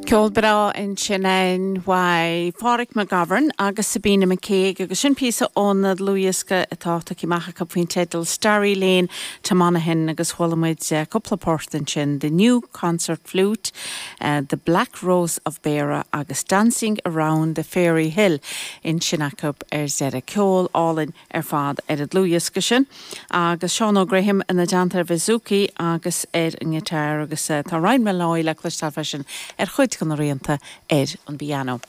Ceol breá ansin uaidh Phádraig McGovern agus Sabina McCague agus sin píosa ón dlúthdhiosca atá tugtha amach acu faoin teideal Starry Lane to Monaghan agus chuala muid cúpla port ansin, The New Concert Flute, The Black Rose of Beara agus Dancing Around the Fairy Hill ansin acu ar deireadh. Ceol álainn ar fad ar an dlúthdhiosca sin agus Seán Óg Graham ina dteannta ar bhouzouki agus ar an ngiotár agus tá Ryan Molloy le cloisteáil freisin ar chuid de na rianta ar an bpianó.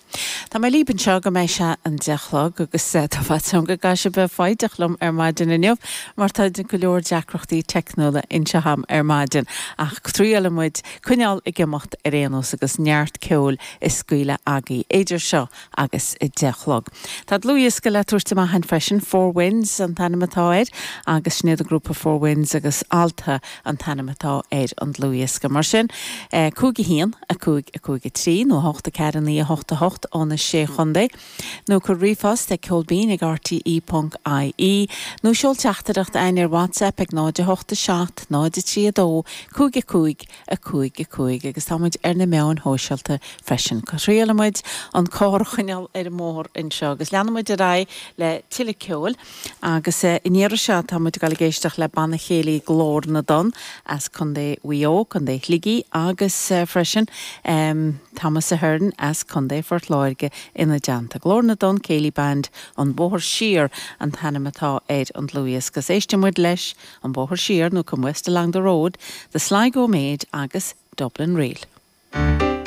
Tá mé libh anseo go mbeidh sé an 10 a chlog agus tá faitíos orm go gcaithfidh sibh bheith foighdeach liom ar maidin inniu mar tá go leor deacrachtaí teicniúla anseo agam ar maidin ach triailfidh muid coinneáil ag imeacht ar aon nós agus neart ceoil a scaoileadh agaibh idir seo agus 10 a chlog. Tá dlúthdhiosca le tabhairt amach againn freisin, Four Winds an t-ainm atá air agus sin iad an grúpa Four Winds agus Alta an t-ainm atá ar an dlúthdhiosca. Mar sin, 5 1, 5 5 3 nó 8 4 9 8 8 ó na Sé Chontae, nó cuir ríomhphost ag ceolbinn ag rte ponc ie nó seol teachtaireacht againn ar WhatsApp ag 0 8 7 0 3 2 5 5 5 5 agus tá muid ar na meáin shóisialta freisin. Triailfidh muid an carr a choinneáil ar an mbóthar anseo agus leanfaidh muid ar aghaidh le tuilleadh ceoil agus an iarraidh seo tá muid ag dul ag éisteacht le Banna Céilí Glór na dTonn as Contae Mhaigh Eo, Contae Shligigh agus freisin Thomas Ahern as Contae Phort Láirge ina dteannta. Glór na dTonn Céilí Band, An Bóthar Siar an t-ainm atá ar an dlúthdhiosca agus éistfidh muid leis An Bóthar Siar nó Come West Along the Road, The Sligo Maid agus Dublin Reel.